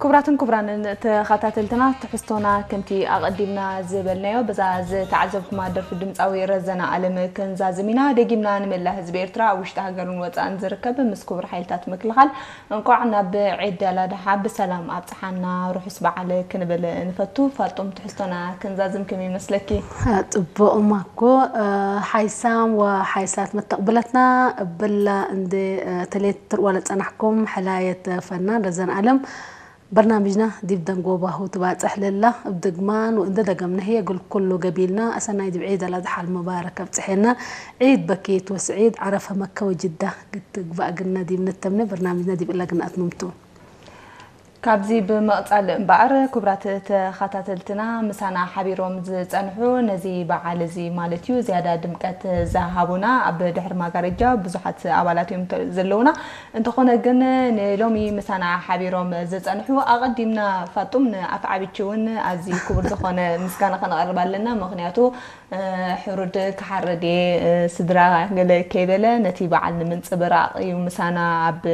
ክቡራትን ክቡራንን ተኸታተልትና፣ ትሕዝቶና ከምቲ ኣቐዲምና ዝበልናዮ፣ በዛ ዝተዓዘብኩማ ደርፊ ድምፃዊ ረዘነ ኣለም ክንዛዝም ኢና። ደጊምና ንመላእ ህዝቢ ኤርትራ ኣብ ውሽጢ ሃገርን ወፃእን ዝርከብ ምስ ክቡር ሓይልታት ምክልኻል እንቋዕ ናብ ዒድ ኣል ኣድሓ ብሰላም ኣብፅሓና፣ ርሑስ በዓል ክንብል ንፈቱ። ፋጡም፣ ትሕዝቶና ክንዛዝም ከመይ ይመስለኪ? ጽቡቕ ማኮ፣ ሓይሳም ወሓይሳት መተቕብለትና እብላ እንደ ተሌት ትርዋ ለጸናሕኩም ሕላየት ፈናን ረዘን ኣለም በርናምጅና ዲብ ደንጎባሁ ትባጽሕ ለላ። እብ ድግማን ወእንደ ደገምና ህየ እግል ኩሉ ገቢልና፣ ኣሰናይ ዲብ ዒድ ኣልኣድሓ ልሙባረክ ኣብጽሐና። ዒድ በኪት ወስዒድ፣ ዓረፈ መከ ወጅዳ ግትግባእ ግና ዲብ ንተምነ በርናምጅና ዲብ እላ ግና ኣትምምቱ። ካብዚ ብምቕጻል እምበኣር፣ ክቡራት ተኸታተልትና፣ ምሳና ሓቢሮም ዝጸንሑ፣ ነዚ በዓል እዚ ማለት እዩ፣ ዝያዳ ድምቀት ዝሃቡና፣ ኣብ ድሕሪ ማጋረጃ ብዙሓት ኣባላት እዮም ተ-፣ ዘለውና። እንተኾነ ግን፣ ንሎሚ ምሳና ሓቢሮም ዝጸንሑ፣ ኣቐዲምና ፋጡም ንኣፍዓቢቺ እውን ኣዝዩ ክቡር ዝኾነ ምስጋና ከነቕርብ ኣለና። ምኽንያቱ፣ እ፣ ሕሩድ ክሓርድ እየ፣ እ፣ ስድራ ገለ ከይበለ፣ ነቲ በዓል ንምንጽብራቕ እዩ ምሳና ኣብ፣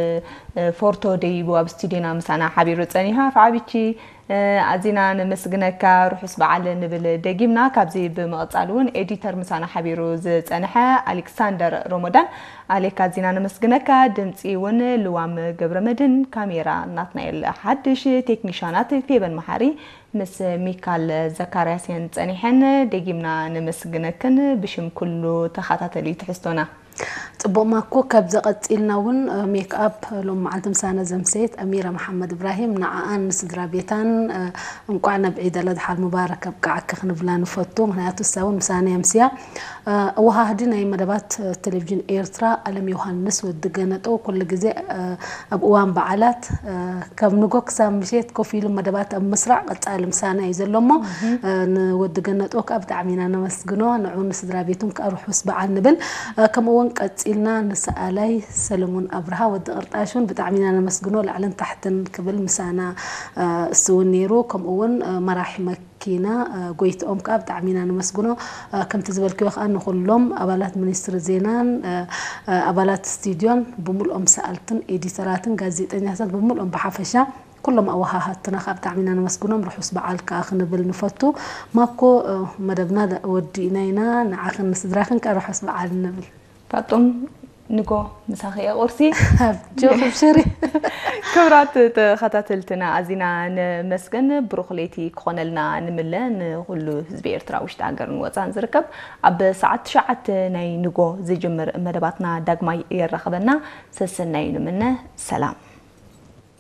እ፣ ፎርቶ ደይቡ ኣብ ስቱዲዮና ምሳና ሓቢሩ ጸኒሑ። ኣፍዓቢቺ፣ እ፣ ኣዚና ነመስግነካ፣ ርሑስ በዓል ንብል ደጊምና። ካብዚ ብምቕጻል እውን ኤዲተር ምሳና ሓቢሩ ዝጸንሐ ኣሌክሳንደር ሮሞዳን፣ ኣሌክ፣ ኣዚና ነመስግነካ። ድምጺ እውን ልዋም ገብረመድህን፣ ካሜራ ናትናኤል ሓድሽ፣ ቴክኒሻናት ፌበን መሓሪ ምስ ሚካል ዘካርያስ እየን ጸኒሐን። ደጊምና ነመስግነክን ብሽም ኩሉ ተኸታተሊ ትሕዝቶና። ጽቡቕ ማኮ፣ ካብዚ ቀጺልና እውን፣ እ፣ ሜክኣፕ ሎም መዓልቲ ምሳና ዘምሰየት ኣሚራ መሓመድ እብራሂም፣ ንዓኣን ንስድራ ቤታን፣ እ፣ እንቋዕ ናብ ዒድ ኣልኣድሓ ልሙባረክ ኣብቅዓኪ ክንብላ ንፈቱ። ምኽንያቱ እሳ እውን ምሳና የምስያ። እ፣ ኣወሃህዲ ናይ መደባት፣ እ፣ ቴሌቪዥን ኤርትራ ኣለም ዮሃንስ ወዲ ገነጦ ኩሉ ግዜ፣ እ፣ ኣብ እዋን በዓላት፣ እ፣ ካብ ንጎ ክሳብ ምሸት ኮፍ ኢሉ መደባት ኣብ ምስራዕ ቀጻሊ ምሳና እዩ ዘሎ እሞ፣ እ፣ ንወዲ ገነጦ ከኣ ብጣዕሚ ኢና ነመስግኖ። ንዑ ንስድራ ቤቱን ከኣ ርሑስ በዓል ንብል። እ፣ ከምኡ እውን ቀጺልና ንሰኣላይ ሰለሙን ኣብርሃ ወዲ ቅርጣሽ እውን ብጣዕሚ ኢና ነመስግኖ። ላዕልን ታሕትን ክብል ምሳና፣ እ፣ እሱ እውን ነይሩ። ከምኡ እውን፣ እ፣ መራሒ መኪና፣ እ፣ ጎይትኦም ከኣ ብጣዕሚ ኢና ነመስግኖ። እ፣ ከምቲ ዝበልክዮ ከኣ ንኹሎም ኣባላት ሚኒስትሪ ዜናን፣ እ፣ እ፣ ኣባላት ስቱድዮን ብምልኦም ሰኣልትን ኤዲተራትን ጋዜጠኛታት ብምልኦም ብሓፈሻ ኩሎም ኣወሃሃድትና ከኣ ብጣዕሚ ኢና ነመስግኖም። ርሑስ በዓል ከኣ ክንብል ንፈቱ። ማኮ፣ እ፣ መደብና ደ-፣ ወዲእና ኢና። ንዓኽን ንስድራኽን ከኣ ርሑስ በዓል ንብል። ፋጡም፣ ንጎ ምሳኺ እየ ቁርሲ። ኣብጆ፣ ኣብሽሪ። ክቡራት ተኸታተልትና፣ ኣዚና ነመስግን። ብሩኽ ለይቲ ክኾነልና ንምለ። ንኹሉ ህዝቢ ኤርትራ ውሽጢ ሃገርን ወጻን ዝርከብ፣ ኣብ ሰዓት ትሽዓተ ናይ ንጎ ዝጅምር መደባትና ዳግማይ የራኽበና። ሰሰናዩ ንምነ። ሰላም።